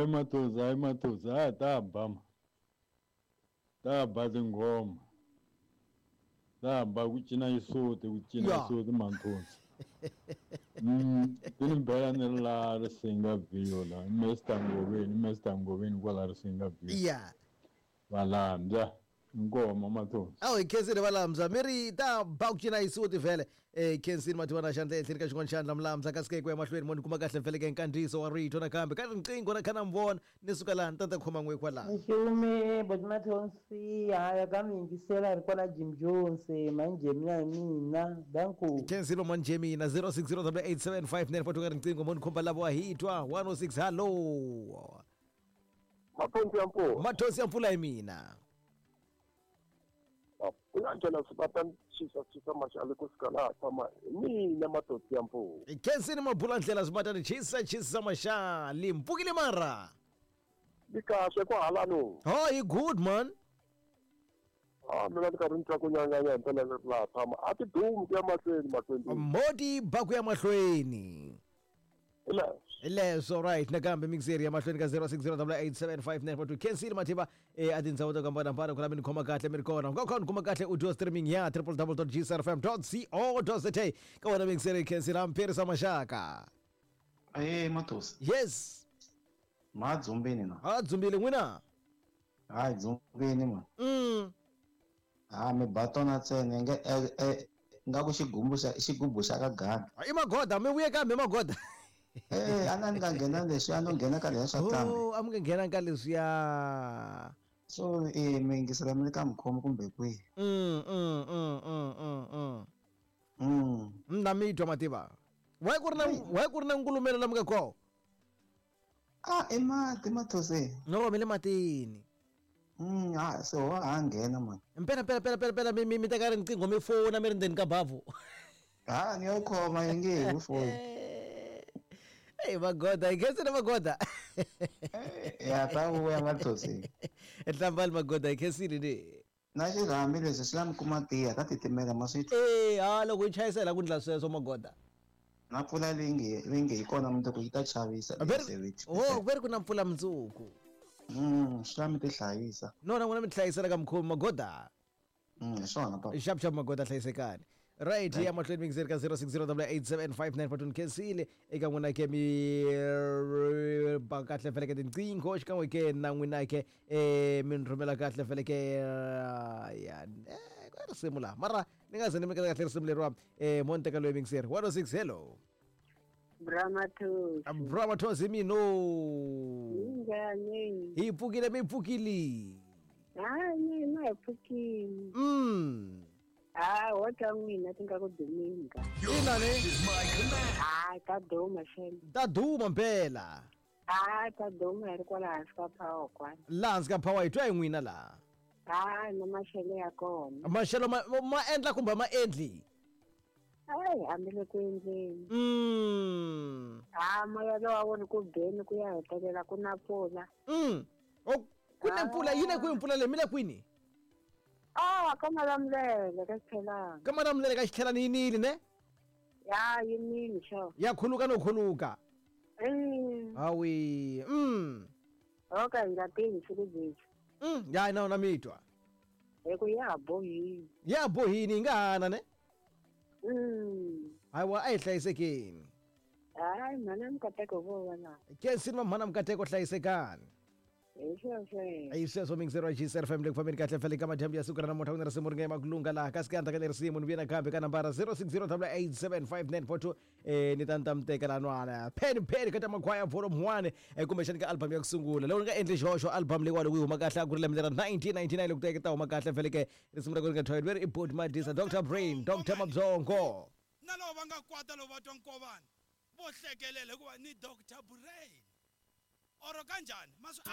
Hayi Mathonsi, hayi Mathonsi, ha ta ba ma. Ta ba tinghoma. Ta ba ku cina xisuti, ku cina xisuti Mathonsi. Ti ni bela ni ri laha Risinga View la, Mr Ngoveni, Mr Ngoveni kwala Risinga View. Ya. Valambya. Inkomo Mathonsi. Awu hi khensile Valambya, mi ri ta ba ku cina xisuti vhele. Khensile Mathivana xandla ehenhleni ka xin'wana xandla Mulambya kasi ke ku ya mahlweni mo ni kuma kahle vhele ke nkandziyiso wa rito nakambe ka riqingho na kha na mi vona ni suka laha ni ta ni ta khoma n'we kwalaha. Nxume boti Mathonsi haya ka mi yingisela ri kwala Jim Jones mhani Jemina hi mina danko. Khensile mhani Jemina 0608875942 ka riqingho mo ni khumba lavo wa hi twa 106 hallo. Mathonsi ya mpfula. Mathonsi ya mpfula hi mina. Ku nga nghena swi va ta chisa chisa maxali ku suka laha tshama hi mina Mathonsi ya mpfula. Khensini mabula ndlela swi batani chisa chisa maxali mpfukile mara. Ni kahle ku hala no. Oh, you good man. Ah, mina ni karhi ni twa ku nyanganya hi ndlela leri laha tshama. A ti dumi ku ya mahlweni mahlweni. Moti ba ku ya mahlweni. Hi leswo. Hi leswo right nakambe mixeri ya mahlweni ka 0608875942 Khensile Mathiba a tindhawu to hambanahambana ku la mi ni khoma kahle mi ri kona. U nga kha u ni kuma kahle audio streaming ya www.gsrfm.co.za ka wena mixeri Khensile Ampherisa Maxaka. Aye Mathonsi. Yes. Ma dzumbini na. Ha dzumbile n'wina. Hayi dzumbini man. Ha mi ba tona ntsena nge nga ku xigumbu xa xigubu xa ka gada. I magoda mi vuye kambe magoda. Eh a ni nga nghena leswi a no nghena ka leswi swa kambe. Oh a mi nga nghena ka leswiya. So mi yingisela mi le ka mukhomi kumbe kwihi? Na mi twa mativa. Why ku ri na why ku ri na nkulumelo la mi nga kona? Ah i mati Mathonsi. No mi le matini. Ha se wa ha nghena man. Mpela mpela mpela mpela mpela mi mi teka riqingho mi fona mi ri ndzeni ka bavhu. Ha ni yo khoma yi nge hi foni. Hey magoda, hi khensile magoda. Ya ta vuya Mathonsi. Nhlambali magoda hi khensile ni. Na xirhami leswi swi la mi kuma tiya ka titimela ma swi twa. Eh ha loko yi chayisela ku ndla sweswo magoda. Na mpfula leyi nge leyi nge yi kona mundzuku yi ta chavisa Oh ve ri ku na mpfula mundzuku. Swi la mi ti hlayisa. No na n'wina mi tihlayisela ka mukhomi magoda. Hi swona papa. Xap xap magoda hlayisekani. Right ya mahlweni mixeri ka 0608875942 khensile eka n'wina ke mi ba kahle feleke tinqingho xikan'we ke na n'wina ke mi ni rhumela kahle feleke ya ku risimu laha mara ni nga ze ni mi kahle risimu leriwa mo ni teka loyi mixeri 106 hello. Bra Mathonsi. Bra Mathonsi mino. Njhani? Hi pfukile mi pfukile. Hayi mina hi pfukile. Ha ho ta n'wina ti nga ku dumeni ka. Ina ne? Ha ta duma xem. Ta duma mpela. Ha ta duma hi ri kwala hansi ka power kwala. Laha hansi ka power hi twa hi n'wina laha. Ha na maxelo ya kona. Maxelo ma endla kumbe ma endli? Hayi hambi le ku endleni. Ha moya lowa wu ri ku beni ku ya hetelela ku na mpfula. O ku na mpfula yi le kwihi mpfula leyi mi le kwini? Ah ka Malamulele ka Xitlhelani. Ka Malamulele ka Xitlhelani yi nile ne? Ya yi nile sure. Ya khuluka no khuluka. Hawi. Ho ka hi nga tivi siku byebyi. Ya na na mi twa. Hi ku ya ha bohini. Ya bohini yi nga hana ne? Hayiwa a hi hlayisekeni. Hayi mhana Mukateko vo va laha. Khensini va mhana Mukateko hlayisekani. Hi sweswo. Hi sweswo mixero wa GCR FM le ku fambeni kahle fele ka madyambu ya siku ra namuntlha ku na risimu ri nga emakulunga laha kasi ka ndzhaku ka leri risimu ni vuye nakambe ka nambara 0608875942 ni ta ni ta mi teka laha nwana pen pen ka ta makhwaya volume 1 kumbexani ka album ya ku sungula loko ni nga endli xihoxo album leyiwani loko yi huma kahle a ku ri lembe ra 1999 loko ta huma kahle fele ke risimu ra ku ri nga thwayeli veri i Boti Madisa Dr Brain Dr Mabyongo. Na loko va nga kwata loko va twa nkovana vo hlekelela hikuva ni Dr Brain oro kanjhani ma swi